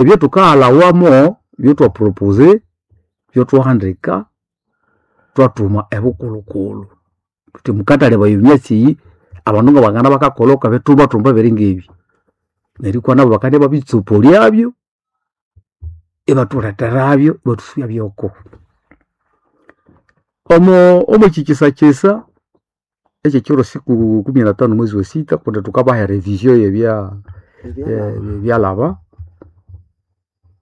Ebyo thukahalhawamo byotwapropose, byotwahandika, twathuma ebukulhukulhu. Thuthi mukathalebaya emyatsi eyi abandu ngabangana bakakolha okwabithumbathumba ebiringa ebi. Neryo ikwa nabo bakandibya babitsopolyabyo ibathuletherabyo ibathusubyabyoko. Omo omwekyi kyisa ekyekyiro siku kumi na tano mwezi wa sita kundi thukabaha erevision yebya Ebyalhaba. ebyalhaba,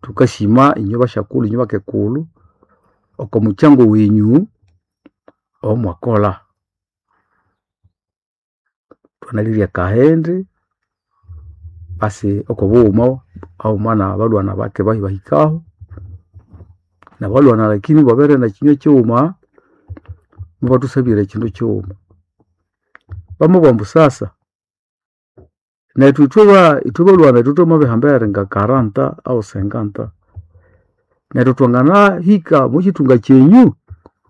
thukasima inywe basyakulhu inywe bakekulhu okwamukyango wenyu owamwakolha. Thwanalirye akahindi pasi okwabughuma haghuma nabalhwana bake bahikahu nabalhwana lakini ibabere nekyinywa kyighuma mubathusabira ekyindu kyighuma. Bamabugha ambu sasa nethu ithwe ithwe balhwana ithwe thwamabihamba eyiringa 40 au 50 neryo thwanganahika omwakyithunga kyenyu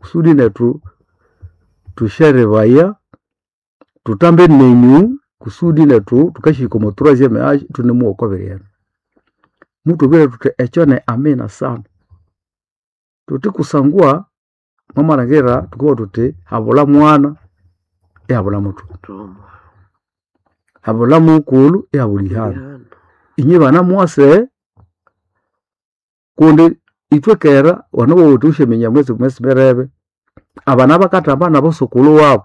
kusudi nethu thusyerebaya thutambe nenyu kusudi nethu thukasyahika omwa troisieme age ithunemuwa okwabiri eno. Muthwabwire thuthi ekyo ni amina sana. Thuthi kusangwa mwamalhangira thukabugha thuthi habula mwana ihabula muthuma, Thuma. Habula mukulhu ihabula ihano. Ihano. Inywe bana mwase kundi ithwe kera wanabugha wuthi wusyaminya mwesi mwesi mirebe abana bakathamba nabasokulhu wabu.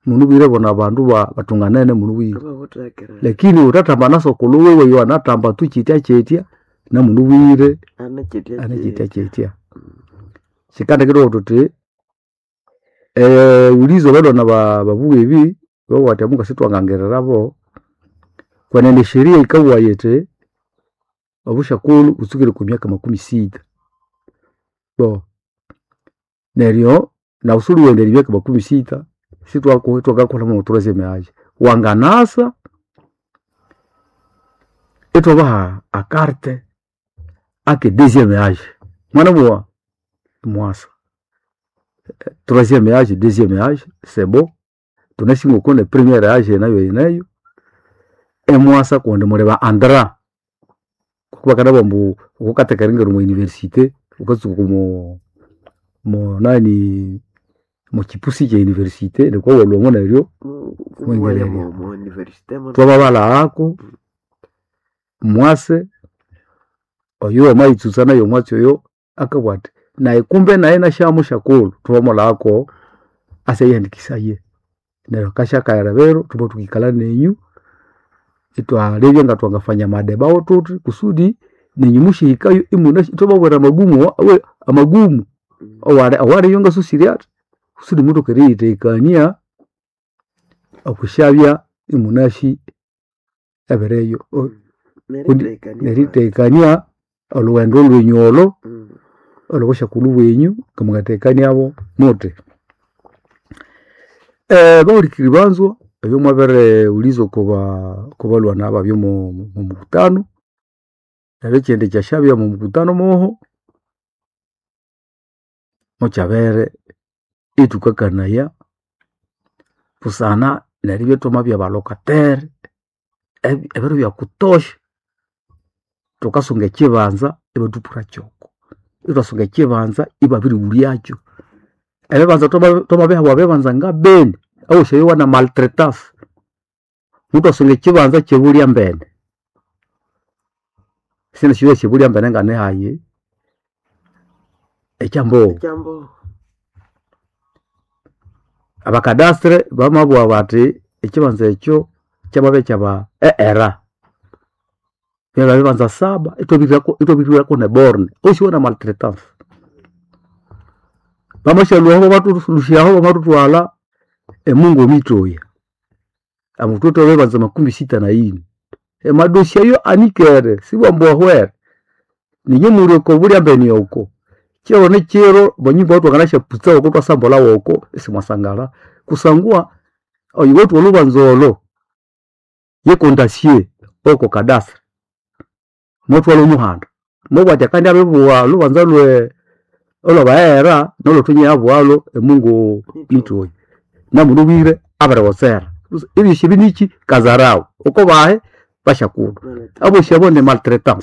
Munabwire bona abandu bathunganene munabwire. Ibabuthekerera. Lakini wuthathamba na sokulhu wiwe oyo anathamba tu kyityakyitya namunabwire Ane kyitya ane kyitya. kyityakyitya. Kyikandekethuka thuthi ghuliza abalhwana babugha ebi babugha bathi amu ngasithwangangirirabo kwenene esheria yikabugha yithi obusyakulhu butsukire okwa myaka makumi sita. Bo neryo nawu siwuliwaghenderya emyaka makumi sita sithwakakuholha mwo troisieme age. Wanganasa ithwabaha akarte ake deuxieme age. Mwanabugha imwasa troisieme age deuxieme age c'est bon thunasi ngoko ne premiere age nayo yineyo imwasa kundi muli ba andra ngoku bakanabugha ambu wukatheka eringira omwa university wukatsuka omo monani omwakipusi kye university nuko walhwamo neryo Imuwaya iwingirirya. omo university Thwamabalhaghako mwase oyo wamayitsutsa nayo omwatsi oyo akabugha athi nayi kumbe nayi nasyamusyakulhu thwamamulhaghako asyayihandikisaye. Neryo akasya kaghera biro thwama thukikalha nenyu ithwalebya ngathwangafanya amadeba wo thuthi kusudi nenyu musyahikayo imunasi ithwababwira amagumu amagumu owaliyo ngasusire athi kusudi muthoke eriyithekania okwisyabya imunasi ebiriyo kundi Nerithekania nerithekania olhughendo lwenyu olho olhobusyakulhu bwenyu ngamungathekaniabo muthi. Bahulikiriri banzwa ebyo mwabirighulhiza okwabalhwana ababya omwamukutano neryo ekyindi ekyasyabya omwamukutano moho, mukyabere ithukakanaya busana neribya ithwamabya balocataire ebiro byakutosha. Thukasunga ekyibanza ibathupurakyoko, ithwasunga ekyibanza ibabirighulyakyo. Ebibanza thwamabihabwa ebibanza nga Beni awosi ayowa na maltraitance. Muthwasunga ekyibanza kye Bulyambene. Sindisyowa e Bulyambene nganihayi ekyambogho. Ekyambogho. Abakadastre bamabugha bathi ekyibanza ekyo kyamabya kyaba ERA. Byabya bibanza saba ithwabirihirako ne borne osi wana maltraitance. Bamasyalhwaho bamathulusyaho bamathuthwalha emungo mitoya. Ambu thuwithe ebibanza makumi sita na yini. Emadossier ayo anikere sibwambu ahwere. Ninye muli oko Bulyambene oko, kyiro ni kyiro amanyumba awathwanganasyaputsa woko ithwasombolha woko isimwasangala kusangwa oyuwithe olhubanza olho ye kondasie owoko cadastre. Mwathwalha omuhanda mwabugha athi akandibya abiribugha olhubanza lwe olhwaba ERA nolhwethu inyayabughalo emungo mitoyi. Namunabwire abirigotsera. Ebyosi ebi niki kazarau wukobahi. Bashakulu abosi abo ni maltraitance.